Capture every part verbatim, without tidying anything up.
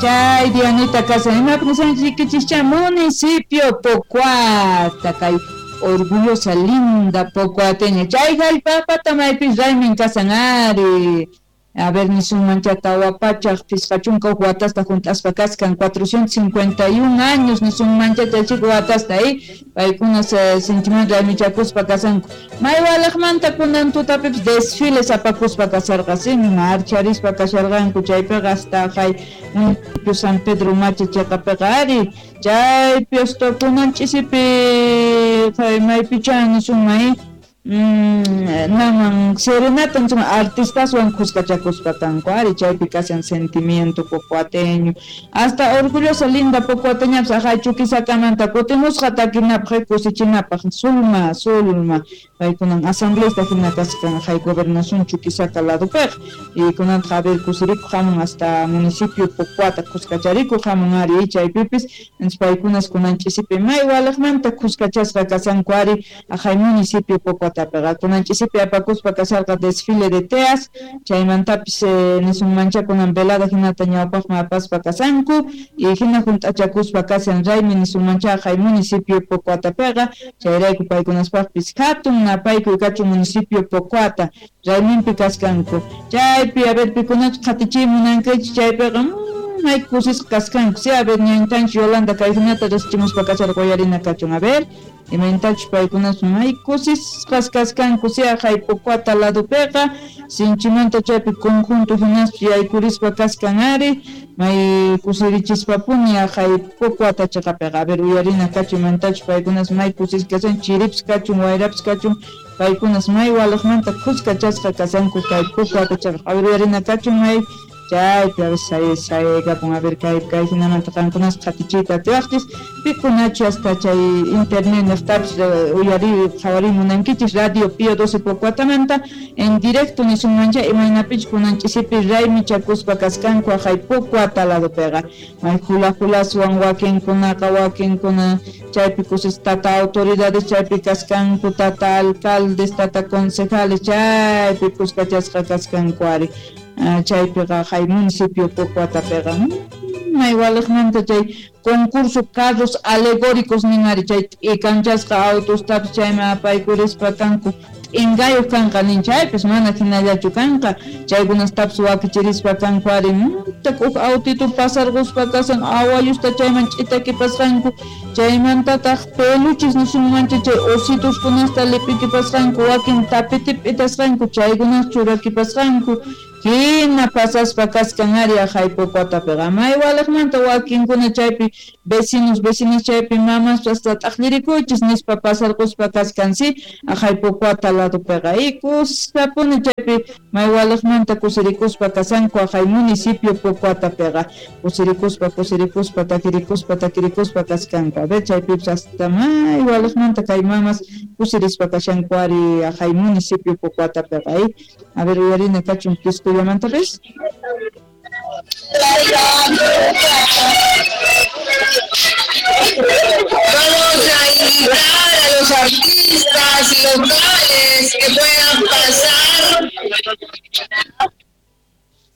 Chay Dianita kashan imapaq nisanchikichischa municipio Pocoata kay orgullosa linda pocoateña chay jallp'apata maypis raymin kasan ari. A ver, nisunmancha tawa pachaj pisqa chunka huk watasta junt'aspa kaskan cuatrocientos cincuenta y un años nisunmancha chay chika watasta eh paykuna sinchiman raymichakuspa kasanku maywalaqmanta kunan tutapipis desfiles apakuspa kasarqa si marcharispa kasharqanku chaypiqa hasta hay municipio San Pedro Macha chaqapiqa ari chaypi hasta kunan ch'isipi maypicha nisunman eh Mm, naman serenata nisunman artistaswan khuskachakuspa kanku ari chaypi kashan sentimiento pocoateño hasta orgullosa linda pocoateñapis ajay Chuquisakamanta kutimusqa takinapaq kusichinapaq Zulma Zulma paykunan asambleista hina kasqan ajay gobernación Chuquisaca ladopiqa y kunantaq a ver kusirikuq hamun hasta municipio Pocoata khuskacharikuq hamun ari chaypipis paykunas kunan ch'isipi may walaqmanta khuskachasqa kasanku ari ajay municipio Pocoata kunan ch'isipi apakuspa kasharqa desfile de teas chaymantapis eh, nisunmancha kunan velada hinata ñawpaqman apaspa kasanku y hina junt'achakuspa kasan raymi nisunmancha ajay municipio Pocoatapiqa chayrayku paykunaspaqpis hatun napaykuy kachun municipio Pocoata rayminpi kaskanku chaypi a ver pikunachu qhatichiy munankichik chaypiqa may kusisqa kaskanku si a ver ñañtanchik Yolanda kay hinata riqsichimuspa kasharqa uyarina kachun a ver imaynatachus paykunas may kusisqas kaskanku si ajay Pocoata ladopiqa sinchimanta chaypi conjunto hinaspa yaykurispa kaskan ari may kusirichispapuni ajay Pocoata chaqapiqa a ver uyarina kachun imaynatachus paykunas may kusisqa kasan chiripis kachun wayrapis kachun paykunas may walaqmanta khuskachasqa kasanku kay Pocoata chaqapiqa a ver uyarina kachun may chaypi a ver saykapun a ver kay kay hinamanta qankunas qhatichiyta atiwaqchis pikunachu hasta chay internet niqtapis uyari qhawariy munankichis Radio Pío doce Pocoatamanta en directo nisunmancha imaynapichus kunan ch'isipi raymichakuspa kaskanku ajay Pocoata ladopiqa may hula hulaswan wakinkunaqa wakinkuna chaypi kusis tata autoridades chaypi kaskanku tata alcaldes tata concejales chaypi kuskachasqa kaskanku ari chaypiqa hay municipio Pocoatapiqa may walaqmanta chay concurso carros alegóricos nin ari chay t'ikanchasqa autostapis chayman apaykurispa kanku t'inqayuq kanqa nin chaypis mana hinallachu kanqa chaykunastapis wakichirispa kanku ari huk autito pasarquspa kasan awayusta chayman ch'itakipasqanku chaymantataq peluches nisunmancha chay osituskunasta lip'ikipasqanku wakin tapete p'itasqanku chaykunas churakipasqanku hina pasaspa kaskan ari ajay Pocoatapiqa may walaqmanta wakinkuna chaypi vecinos vecinas chaypi mamas hasta t'aqlirikuychis nispa pasarquspa kaskan si ajay Pocoata ladopiqa y kuskapuni chaypi may walaqmanta kusirikuspa kasanku ajay municipio Pocoatapiqa kusirikuspa kusirikuspa takirikuspa takirikuspa kaskanku a ver chaypipis hasta may walaqmanta kay mamas kusirispa kashanku ari ajay municipio Pocoatapiqa y a ver uyarina kachun pisku Yamanta pis. Vamos a invitar a los artistas locales que puedan pasar.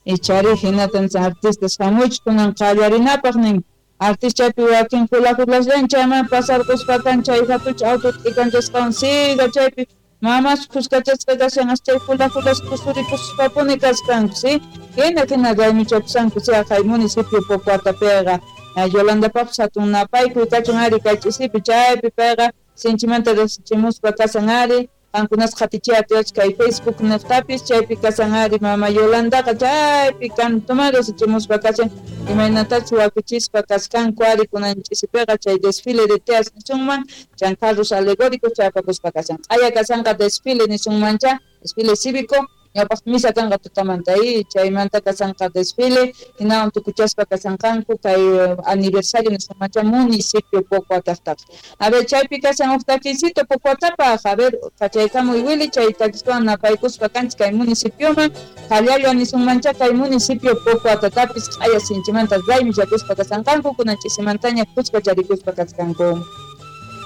Ichari hinatan artistas hamuch kunan qallarinapaq nin artista chaypi wakin hula hulaslan chayman pasarquspa kan chay hatuch auto t'ikanchasqawan siga chaypi mamas khuskachasqa kashan hasta chay hula hulas kusurikuspapuni kaskanku si hina hina raymichakusanku si ajay municipio Pocoatapiqa Yolandapaqpis hatun napaykuy kachun ari kay ch'isipi chaypi payqa sinchimanta riqsichimuspa kasan ari qankunas qhatichiy atiwachik kay Facebook niqtapis chaypi kasan ari mama Yolandaqa chaypi kantuman riqsichimuspa kashan imaynatachus wakichispa kaskanku ari kunan ch'isipiqa chay desfile de teas nisunman chan carros alegóricos chayapakuspa kasan q'aya kasanqa desfile nisunmancha desfile cívico ñawpaq misa kanqa tutamanta y chaymanta kasanqa desfile hinawan tukuchaspa kasanqanku kay aniversario nisunmancha municipio Pocoataqtaqa a ver chaypi kasan huk takisito Pocoatapaq a ver kachaykamuy Willy chay takiswan napaykuspa kanchik kay municipioman qallalla nisunmancha kay municipio Pocoatatapis q'aya sinchimanta raymichakuspa kasanqanku kunan ch'isimantaña khuskacharikuspa kaskanku.